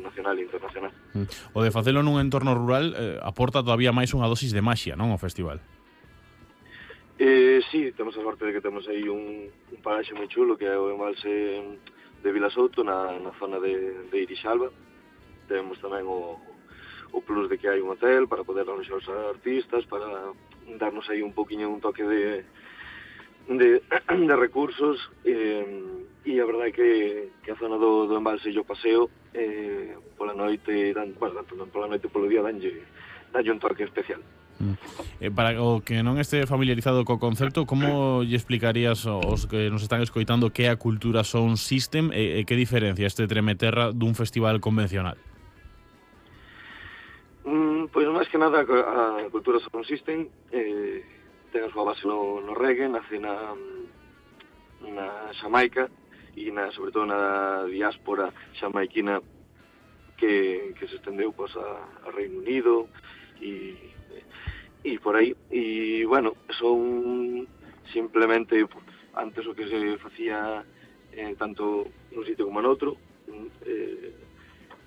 nacional e internacional. O de facelo nun entorno rural aporta todavía máis unha dosis de maxia, non, ao festival? Sí, temos a sorte de que temos aí un paraxe moi chulo que é o embalse de Vilasouto na zona de Irixalba. Temos tamén o plus de que hai un hotel para poder aloxar os artistas, para darnos aí un poquinho un toque de recursos, e a verdade que a zona do embalse e o paseo pola noite, pola noite polo día danlle un toque especial. Para o que non este familiarizado co concepto, como lle explicarías aos que nos están escoitando que é a Cultura Sound System e que diferencia este Tremeterra dun festival convencional? Pois máis que nada a Cultura Sound System ten a súa base no reggae, nace na Xamaica e sobre todo na diáspora xamaiquina que se estendeu pois a Reino Unido e por aí, e bueno, son simplemente antes o que se facía tanto nun sitio como noutro,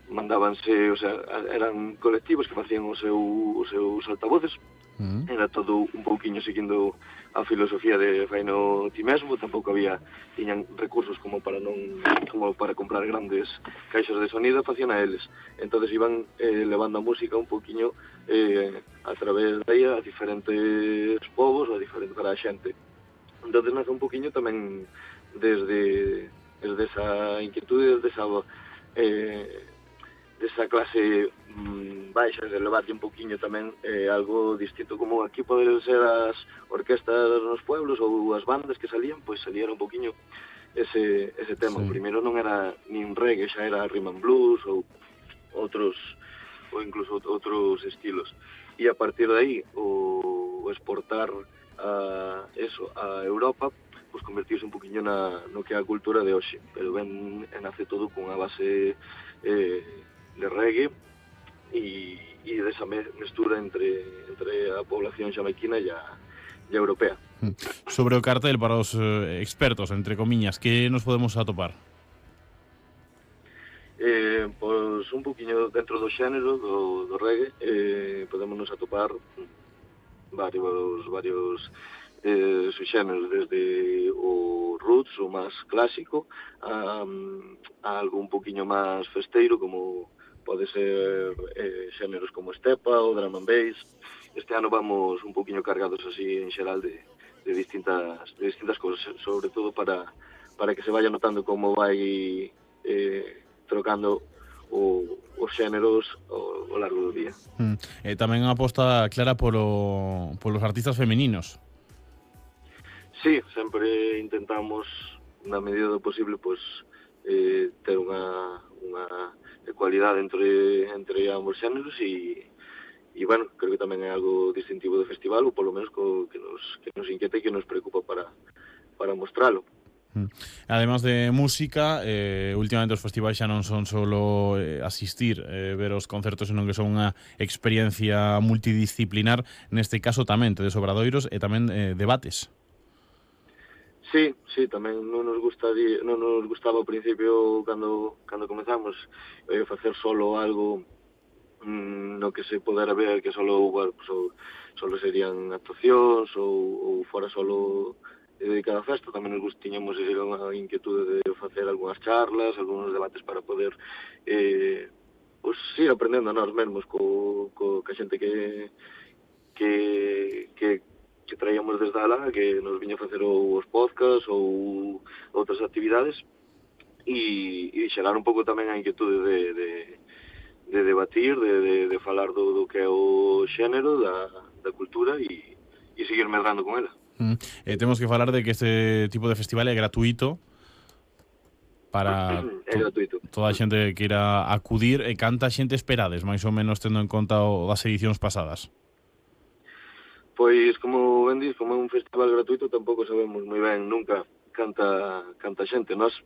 mandábanse, o sea, eran colectivos que facían os seus altavoces. Era todo un pouquiño seguindo a filosofía de faino ti mesmo, tampouco tiñan recursos como para comprar grandes caixas de sonido, facían a eles. Entonces iban levando a música un pouquiño a través de aí a diferentes povos ou para a xente. Entonces nace un pouquiño tamén desde esa inquietude, desa clase baixa, de levarlle un poquinho tamén algo distinto, como aquí poden ser as orquestas nos pueblos ou as bandas que salían, pois salían un poquinho ese tema. Sí. Primeiro non era nin reggae, xa era rhythm and blues ou incluso outros estilos. E a partir de aí o exportar a Europa, pois convertirse un poquinho no que é a cultura de hoxe, pero nace todo cunha base de reggae e desa mestura entre a población xamaiquina e a europea. Sobre o cartel, para os expertos, entre comiñas, que nos podemos atopar? Pois un poquinho dentro do xénero do reggae podemos nos atopar varios subxéneros, desde o roots, o máis clásico, a algo un poquinho máis festeiro, como pode ser xéneros como estepa ou drum and bass. Este ano vamos un poquinho cargados así en xeral de distintas cousas, sobre todo para que se vaya notando como vai trocando os xéneros ao largo do día. Tamén unha aposta clara polos artistas femininos. Sí, sempre intentamos, na medida do posible, pois ter unha ecualidade entre ambos xéneros e bueno, creo que tamén é algo distintivo do festival, ou polo menos que nos inquieta e que nos preocupa para mostralo. Además de música, últimamente os festivais xa non son solo asistir, ver os concertos, senón que son unha experiencia multidisciplinar. Neste caso tamén tedes obradoiros e tamén debates. Sí, tamén non nos gustaba ao principio cando comezamos facer solo algo no que se podera ver que solo serían actuacións ou fora solo dedicada a festa. Tamén nos tiñamos unha inquietude de facer algunhas charlas, algúns debates para poder ir aprendendo a nós mesmos ca xente que traíamos desde alá, que nos viña a facer os podcasts ou outras actividades, e xerar un pouco tamén a inquietude de debatir, de falar do que é o xénero, da cultura e seguir medrando con ela. Temos que falar de que este tipo de festival é gratuito para toda a xente que queira acudir. E canta xente esperades, máis ou menos, tendo en conta as edicións pasadas? Pois, como ben dis, como é un festival gratuito, tampouco sabemos moi ben nunca canta xente. Nós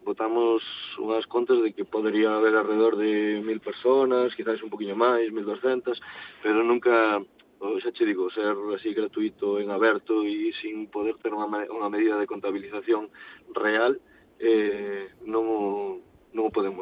botamos unhas contas de que podería haber alrededor de 1000 personas, quizás un poquinho máis, 1200, pero nunca, xa che digo, ser así gratuito, en aberto e sin poder ter unha medida de contabilización real, non o podemos